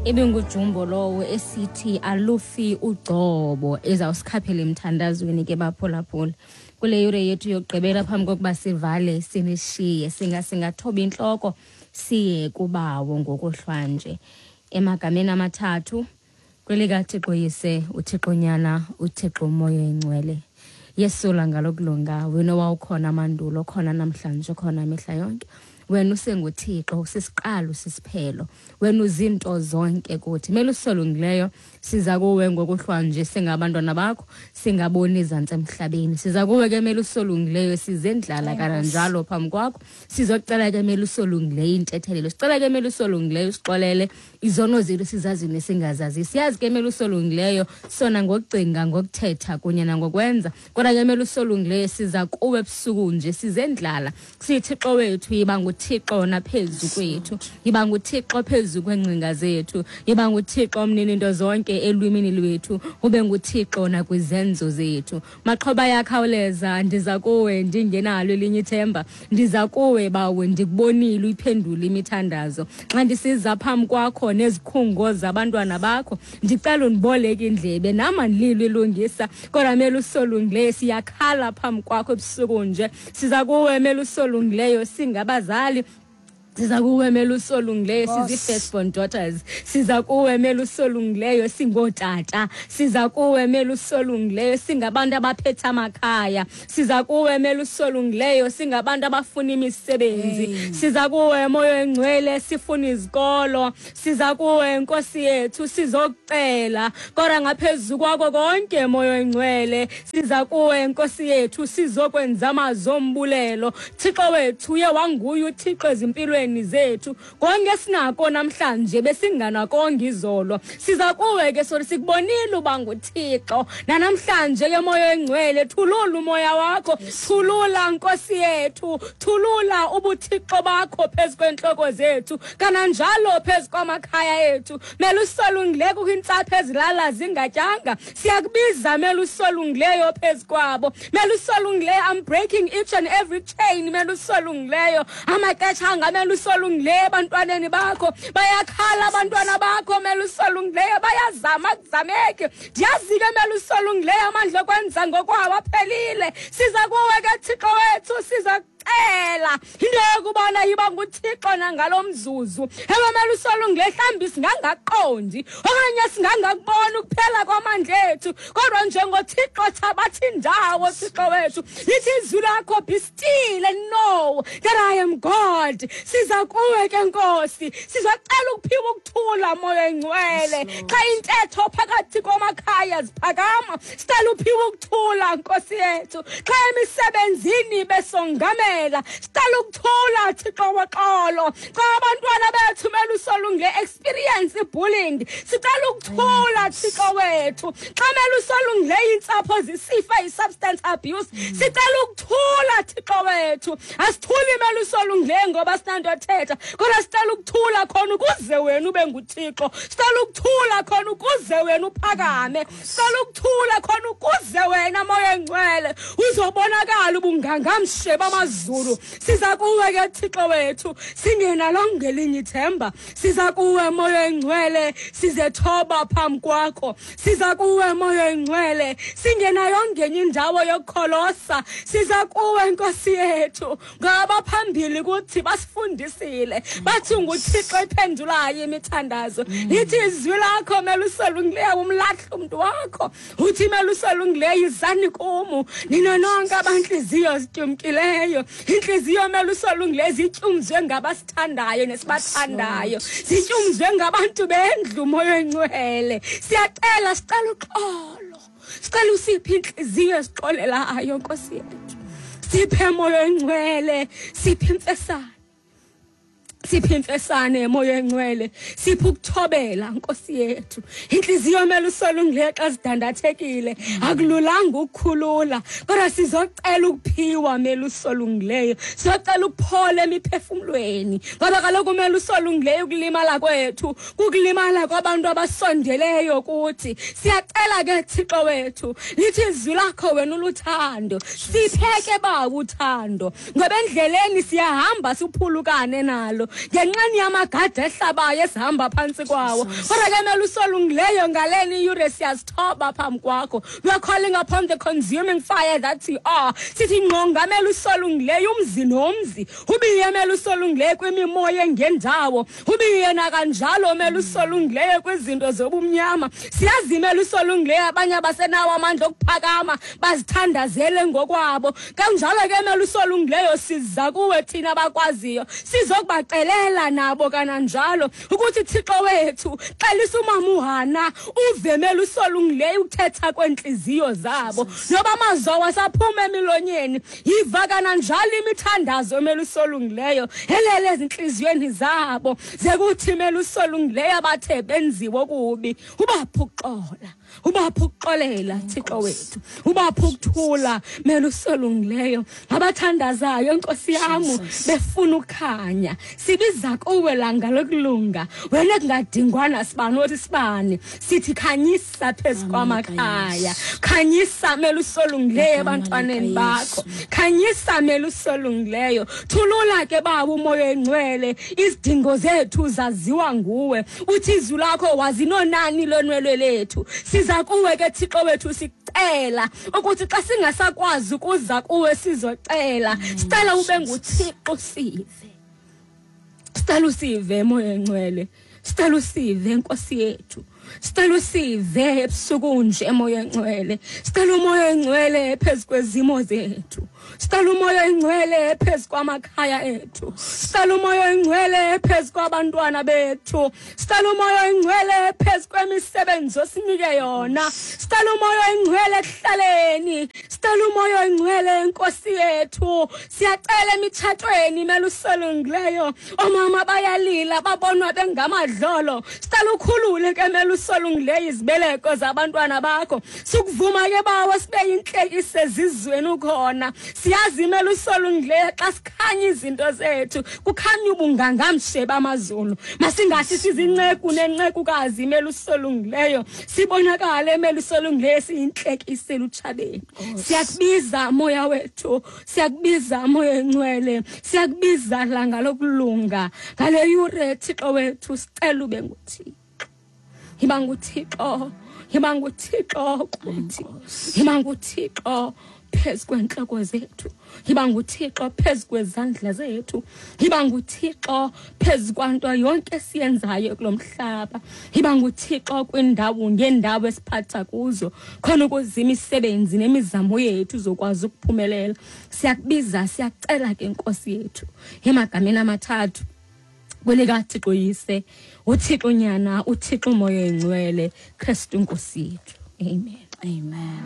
Ibingujumbo lowo esithi alufi ugcobo, ezawusikhaphela emthandazweni ke baphulaphula. Kule yure yethu yokugqibela phambi kokuba sivale sinishiye, singathoba intloko siye kubawo ngokuhlwanje. Emagameni amathathu, kwelikaThixo Yise, uThixo Nyana, uThixo Moya Oyingcwele. Yesula ngalokulunga, wena owawukhona mandulo, khona namhlanje, khona mihla yonke. Wena usenguThixo, usisiqalo, usisiphelo. Wena uzinto zonke kuthi. Melusolungileyo, siza kuwe ngokuhlwanje singabantwana bakho, singaboni izantsi emhlabeni. Siza kuwe ke melusolungileyo, sizendlala kananjalo phambi kwakho. Sizocela ke melusolungileyo intethelelo. Sicela ke melusolungileyo usixolele izono zethu sizazi nesingazazi. Siyazi ke melusolungileyo sona ngokucinga, ngokuthetha kunye nangokwenza. Kodwa ke melusolungileyo siza kuwe ebusuku nje sizendlala. SiThixo wethu, yiba nguThixo naphezu kwethu. Yiba nguThixo phezu kwengcinga zethu. Yiba nguThixo mnini into zonke elwimini lwethu. Ube nguThixo nakwizenzo zethu. Maxhoba yakhawuleza, ndiza kuwe ndingenalo elinye ithemba. Ndiza kuwe bawe, ndikubonile uyiphendula imithandazo. Xa ndisiza phambi kwakho nezikhungo zabantwana bakho, ndicela undiboleke indlebe, nam andililo ilungisa. Kodwa melusolungileyo siyakhala phambi kwakho ebusuku nje. Siza kuwe melusolungileyo singabazali. Siza kuwe melusolungileyo sizi-firstborn daughters. Siza kuwe melusolungileyo singootata. Siza kuwe melusolungileyo singabantu abaphethe amakhaya. Siza kuwe melusolungileyo singabantu abafuna imisebenzi. Siza kuwe Moya Oyingcwele sifuna izikolo. Siza kuwe Nkosi yethu sizokucela. Kodwa ngaphezu kwako konke Moya Oyingcwele, siza kuwe Nkosi yethu sizokwenza amazwi ombulelo. Thixo wethu uye wanguye uThixo ezimpilweni zethu. Konke sinako namhlanje besinganakonke izolo. Siza kuwe ke sori sikubonile uba nguThixo. Nanamhlanje ke Moya Oyingcwele, thulula umoya wakho, thulula Nkosi yethu, thulula ubuThixo bakho phezu kwentloko zethu, kananjalo phezu kwamakhaya ethu. Melusolungileyo kukho iintsapho ezilala zingatyanga. Siyakubiza melusolungileyo phezu kwabo. Melusolungileyo, I'm breaking each and every chain. Melusolungileyo, amaxesha angamelusolungileyo ebantwaneni bakho. Bayakhala abantwana bakho melusolungileyo, bayazama kuzameke. Ndiyazi ke melusolungileyo amandla okwenza ngokwawo aphelile. Siza kuwe ke Thixo wethu, siza kucela into yokubana yiba nguThixo nangalo mzuzu. Ewe melusolungileyo, mhlawumbi singangaqondi okanye singangakuboni ukuphela kwamandla ethu, kodwa njengoThixo thabatha indawo Thixo wethu. Lithi izwi lakho, be still and know that I am God. Siza kuwe ke Nkosi, sizocela ukuphiwa ukuthula Moya Oyingcwele. Xa intetho phakathi kwamakhaya ziphakama, sicela uphiwe ukuthula Nkosi yethu. Xa emisebenzini besongamela, sicela ukuthula Thixo woxolo. Xa abantwana bethu melusolunge experience ibullying, sicela ukuthula Thixo wethu. Xa melusolunge iintsapho zisifa i-substance abuse, sicela ukuthula Thixo wethu. Asithuli melusolunge ngoba sinanto ethetha, kodwa sicela ukuthula khona ukuze wena ube nguThixo. Sicela ukuthula khona ukuze wena uphakame. Sicela ukuthula khona ukuze wena Moya Oyingcwele uzobonakala ubungangamshe bamazulu. Siza kuwe ke Thixo wethu singenalo ngelinye ithemba. Siza kuwe Moya Oyingcwele sizethoba phambi kwakho. Siza kuwe Moya Oyingcwele singenayo ngenye indawo yokukholosa. Siza kuwe Nkosi yethu ngaba phambili kuthi basifundisile, bathi nguThixo ephendulayo imithandazo. Lithi izwi lakho melusolungileyo umlahla umntu wakho. Uthi melusolungileyo izani kum nina nonke abantliziyo zityumkileyo. Intliziyo melusolungileyo zityumzwe ngabasithandayo nesibathandayo, zityumzwe ngabantu bendlu Moya Oyingcwele. Siyacela, sicela uxolo, sicela usiphe intliziyo esixolelayo Nkosi yethu. Siphe Moya Oyingcwele, siphe imfesane, siphe imfesane Moya Oyingcwele, siphe ukuthobela Nkosi yethu. Intliziyo melusolungileyo xa zidandathekile akululanga ukukhulula, kodwa sizocela ukuphiwa melusolungileyo, sizocela ukuphola emiphefumlweni, ngoba kaloku melusolungileyo ukulimala kwethu kukulimala kwabantu abasondeleyo kuthi. Siyacela ke Thixo wethu, lithi izwi lakho wena uluthando, siphe ke ba uthando, ngoba endleleni siyahamba siphulukane nalo. ngenxeni yamagade ehlabayo esihamba phantsi kwawo. Kodwa ke melusolungileyo, ngaleni iyure siyazithoba phambi kwakho. We are calling upon the consuming fire that you are. Sithi ngqonga, melusolungileyo, umzi nomzi, ubiye, melusolungileyo, kwimimoya engendawo, ubiye nakanjalo, melusolungileyo, kwizinto zobumnyama. Siyazi, melusolungileyo, abanye abasenawo amandla okuphakama bazithandazele ngokwabo. Kanjalo ke, melusolungileyo, siza kuwe thina bakwaziyo sizokubacelela nabo kananjalo ukuthi, Thixo wethu, xelisa umama uHana, uve, melusolungileyo, ukuthetha kweentliziyo zabo. Noba amazwi awasaphuma emilonyeni, yiva kananjalo imithandazo, melusolungileyo, elele ezintliziyweni zabo, zekuthi, melusolungileyo, abathe benziwe okubi, ubaphe ukuxola, ubaphe ukuxolela, Thixo wethu, ubaphe ukuthula, melusolungileyo. Abathandazayo, Nkosi yam, befuna ukukhanya, sibiza kuwe, langa lokulunga, wena kungadingwana sibani othi sibane. Sithi khanyisa phezu kwamakhaya, khanyisa, melusolungileyo, ebantwaneni bakho, khanyisa, melusolungileyo. Thulula ke, Baba, uMoya Engcwele. Izidingo zethu zaziwa nguwe. Uthi izwi lakho wazinonani lonwelwe lethu. Siza kuwe ke, Thixo wethu, sicela ukuthi xa singasakwazi ukuza kuwe sizocela, sicela ube nguThixo, sive. Sicela usive, Moya Engcwele. Sicela usive, Nkosi yethu. Sicela usive ebusuku nje, Moya Engcwele. Sicela uMoya Engcwele phezu kwezimo zethu. Sicela uMoya Engcwele phezu kwamakhaya ethu. Sicela uMoya Engcwele phezu kwabantwana bethu. Sicela uMoya Engcwele phezu kwemisebenzi osinike yona. Sicela uMoya Engcwele ekuhlaleni. Sicela uMoya Engcwele, Nkosi yethu. Siyacela emitshatweni, melusolungileyo. Omama bayalila, babonwa bengamadlolo. Sicela ukhulule ke, melusolungileyo, izibeleko zabantwana bakho. Sukuvuma ke, Bawo, sibe yintlekise ezizweni ukhona. Siyazi, melusolungileyo, xa sikhanya izinto zethu, kukhanya ubungangamshe bamazulu. Masingathi sizinceku nencekukazi, melusolungileyo, sibonakale, melusolungileyo, siyintlekise elutshabeni. Siyakubiza, Moya wethu. Siyakubiza, Moya Engcwele. Siyakubiza, langa lokulunga. Ngale yure, Thixo wethu, sicela ube nguThixo. Yiba nguThixo, yiba nguThixo kuthi, yiba nguThixo phezu kwentloko zethu, yiba nguThixo phezu kwezandla zethu, yiba nguThixo phezu kwanto yonke esiyenzayo kulo mhlaba, yiba nguThixo kwindawo ngeendawo esiphatha kuzo, khona ukuze imisebenzi nemizamo yethu izokwazi ukuphumelela. Siyakubiza, siyacela ke, Nkosi yethu, emagameni amathathu, kwelikaThixo Yise, uThixo Nyana, uThixo Moya Engcwele, Kristu Nkosi yethu. Amen. Amen.